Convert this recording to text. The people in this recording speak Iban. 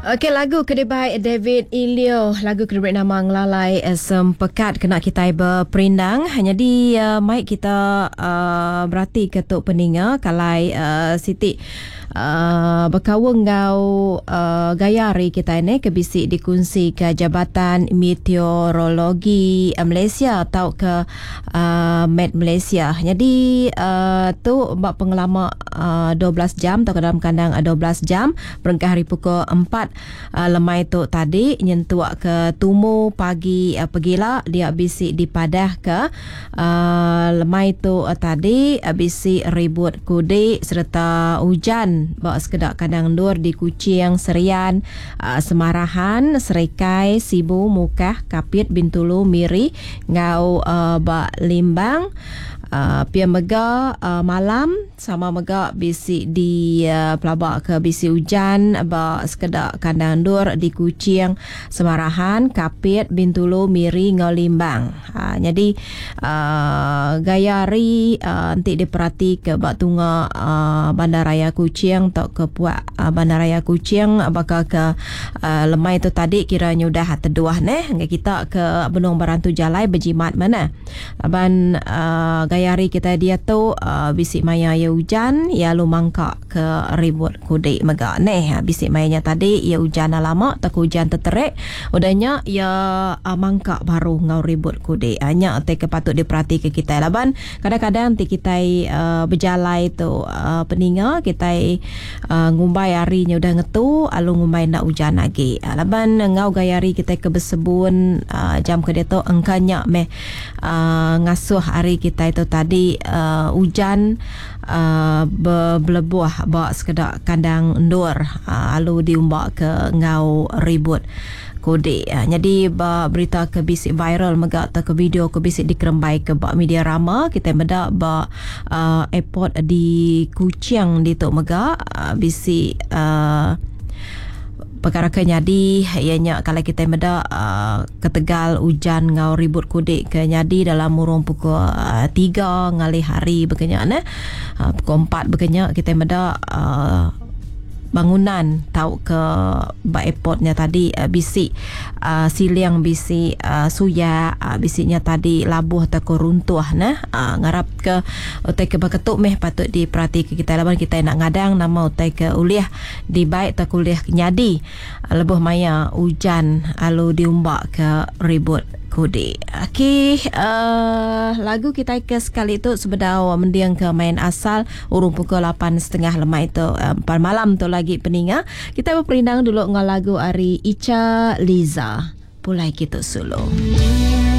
Okey lagu ke dibai David Ilio lagu ke diberi nama Ngelalai Sempekat kena kitai beperindang. Nyadi uh, mai kita uh, berati ke tu peninga kalai uh, siti uh, bekaul enggau uh, gaya hari kitai ni ke bisi dikunsi ke Jabatan Meteorologi Malaysia tauka uh, Met Malaysia. Nyadi uh, tu ba pengelama uh, 12 jam tauka dalam kandang 12 jam berengkah hari pukul 4 uh, lemai tu tadi nyentuk ke tumu pagi uh, pegila dia bisi dipadah ke uh, lemai tu uh, tadi uh, bisi ribut kudi sereta ujan ba sekeda kandang endur di Kuching, Serian, uh, Semarahan, Serikai, Sibu, Mukah, Kapit, Bintulu, Miri enggau uh, ba Limbang. Uh, pia mega uh, malam sama mega bisi di uh, pelaba ke bisi ujan ba sekeda kandang endur di Kuching, Semarahan, Kapit, Bintulu, Miri enggau Limbang. Uh, nyadi uh, gaya hari uh, enti diperati ke ba tunga uh, Bandaraya Kuching tauka puak uh, Bandaraya Kuching baka ke uh, lemai tu tadi kira nyudah teduh neh enggai kita ke benung berantu jalai bejimat mana. Laban uh, gaya hari kita diatu uh, bisi maya ia ujan ia lalu mangka ke ribut kudi mega neh. Bisi maya nya tadi ia ujan lama atau hujan teterik udah nya ia uh, mangka baru ngau ribut kudi. Uh, nya te ke patut diperhati ke kita laban kadang-kadang ti kitai uh, bejalai tu uh, peninga kitai uh, ngumbai hari nya udah ngetu lalu ngumbai nak ujan lagi. Uh, laban ngau gaya hari kita ke bersebun uh, jam ke diatu engka nya meh uh, ngasuh hari kita itu tadi uh, hujan uh, belebuh ba sekeda kandang endur uh, lalu diumbak ke ngau ribut kudi. Uh, jadi ba berita ke bisi viral mega atau ke video ke bisi dikerembai ke ba media rama kita meda ba uh, airport di Kuching ditu mega uh, bisi uh, perkara ke nyadi ianya kalau kita meda uh, ketegal hujan ngau ribut kudik ke nyadi dalam murung pukul uh, 3 ngalih hari bekenya ne uh, pukul 4 bekenya kita meda uh, bangunan tau ke ba airportnya tadi uh, bisi uh, siling bisi uh, suya uh, bisinya tadi labuh atau ke runtuh nah uh, ngarap ke utai ke beketuk meh patut diperhati ke kita laban kita nak ngadang nama utai ke ulih dibaik atau ulih nyadi lebuh maya hujan lalu diumbak ke ribut kudi. Okey, uh, lagu kita ke sekali tu sebedau mending ke main asal urung pukul 8.30 lemai tu uh, malam tu lagi peninga. Kita berperindang dulu dengan lagu ari Icha Liza. Pulai kita solo.